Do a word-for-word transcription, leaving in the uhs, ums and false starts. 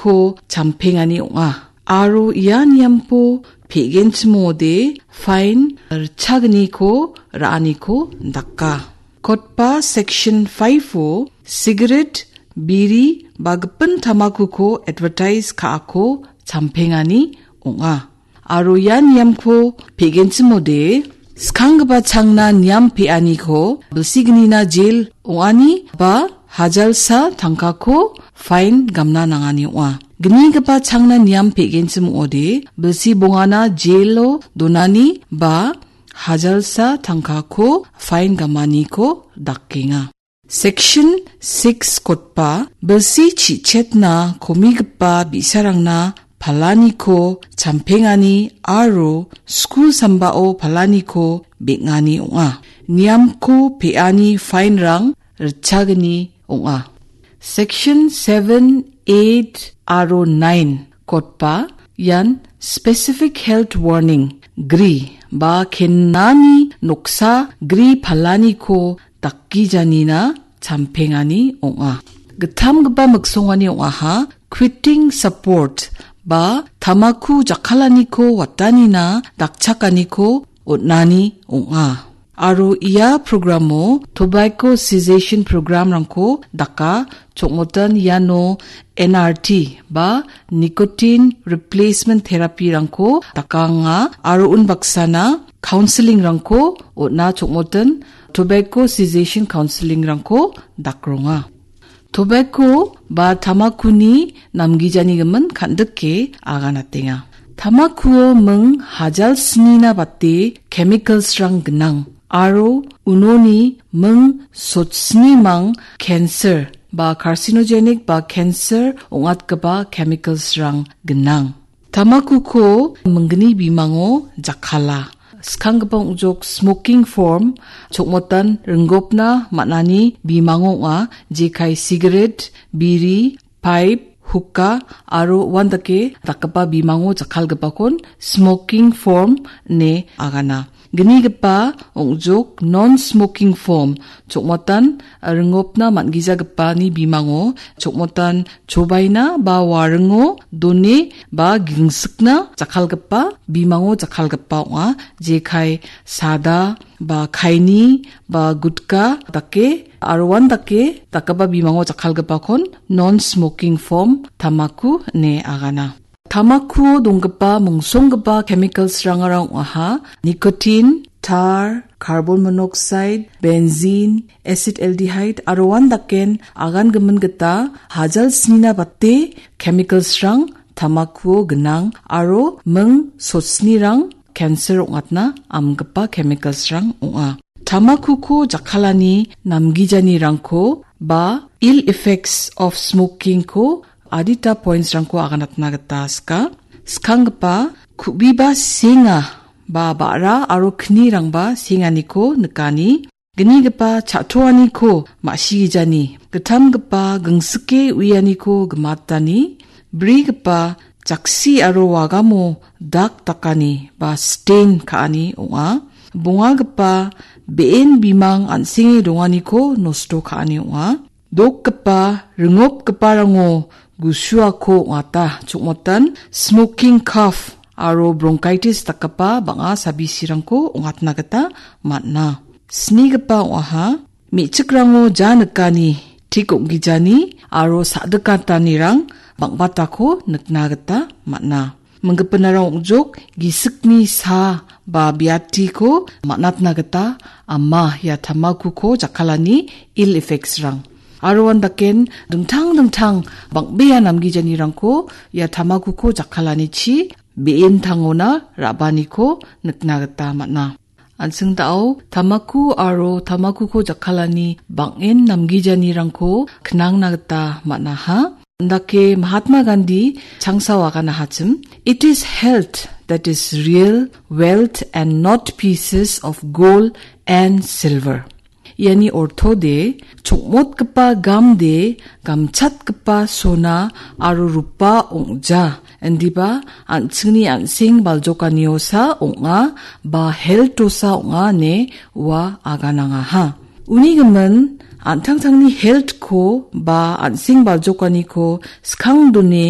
ko champengani ong·a. Aro ia niamko pe·genchim ong·ode fain ritchagniko ra·aniko daka. Kotba section five-o sigaret, biri ba gipin tamakuko advertise ka·ako champengani ong·a. Aro ia niamko pe·genchim ong·ode, skanggipa changna niam pe·aniko bilsignina jel ong·ani ba hajalsa tangkako fain gamna nangani ong·a. Gnigipa changna niam pe·genchim ong·ode, bilsi bongana jelo donani ba hajalsa tangkako fain gamaniko dakenga. Section six kotba bilsi chi·chetna komigipa bi·sarangna palaniko champengani aro skul sambao palaniko beng·ani ong·a. Niamko pe·ani fainrang ritchagni ong·a. Section seven, eight aro nine kotba ian specific health warning gri ba kenani noksa gri palaniko dakgijanina champengani ong·a. Gittamgipa miksongani ong·aha, quitting support ba tamaku jakkalaniko watanina dakchakaniko on·ani ong·a. Aro ia programo tobacco cessation programrangko daka, chongmotan iano N R T ba nicotine replacement therapyrangko dakanga aro unbaksana counselingrangko on·a, chongmotan tobacco cessation counselingrangko dakronga. Tobacco ba tamakuni namgijanigimin kan·dike aganatenga. Tamakuo ming hajal snina bate chemicalsrang gnang aro unoni ming sotsnimang cancer ba carcinogenic ba cancer ong·atgipa chemicalsrang gnang. Tamakuko minggni bimango jakkala. Skanggipa ong·jok smoking form, chokmotan ringgopna man·ani bimango ong·a, jekai sigaret, biri, paip, huka aro uandake dakgipa bimango jakkalgipakon smoking form ine agana. Gnigipa ong·jok non-smoking form, chokmotan ringopna man·gijagipani bimango chokmotan chobaina ba waringo done ba gingsikna jakkalgipa bimango jakkalgipa ong·a. Jekai sada ba kaini ba gutka dake aro uandake dakgipa bimango jakkalgipakon non-smoking form tamaku ine agana. Tamakuo donggipa mongsonggipa chemicalsrangara ong·aha, nicotine, tar, carbon monoxide, benzene, acetaldehyde aro uandaken agangimin gita hajal snina bate chemicalsrang tamakuo gnang aro ming sotsnirang cancer ong·atna amgipa chemicalsrang ong·a. Tamakuko jakkalani namgijanirangko ba ill effects of smokingko adita pointsrangko aganatna gita sika. Skanggipa ku·biba senga ba ba·ra aro knirangba senganiko nikani. Gnigipa cha·toaniko ma·sigijani, gittamgipa gingsike uianiko gimatani, brigipa jaksi aro wagamo dak dakani ba stain ka·ani ong·a. Bongagipa be·en bimang an·senge donganiko nosto ka·ani ong·a. Dokgipa, ringopgiparango gusuako ong·ata, chokmotan smoking cough aro bronchitis dakgipa bang·a sabisirangko ong·atna gita man·a. Snigipa ong·aha, me·chikrango ja nikani, tik ong·gijani aro sa·dikatanirang bang·batako nikna gita man·a. Minggipinara ong·jok gisikni sa ba biatiko man·atna gita ama ia tamakuko jakkalani ill effectsrang. Aro uandaken dingtang dingtang bang·bea namgijanirangko ia tamakuko jakkalanichi be·entangona ra·baniko nikna gita man·a. An·ching da·o tamaku aro tamakuko jakkalani bang·en namgijanirangko knangna gita man·aha. Indake Mahatma Gandhi changsao aganahachim, "It is health that is real wealth and not pieces of gold and silver." Iani ortode, chokmotgipa gamde, gamchatgipa sona aro rupa ong·ja, indiba an·chingni an·seng baljokaniosa ong·a, ba health-osa ong·a ine ua aganangaha. Uni gimin, an·tangtangni health-ko ba an·seng baljokaniko skangdone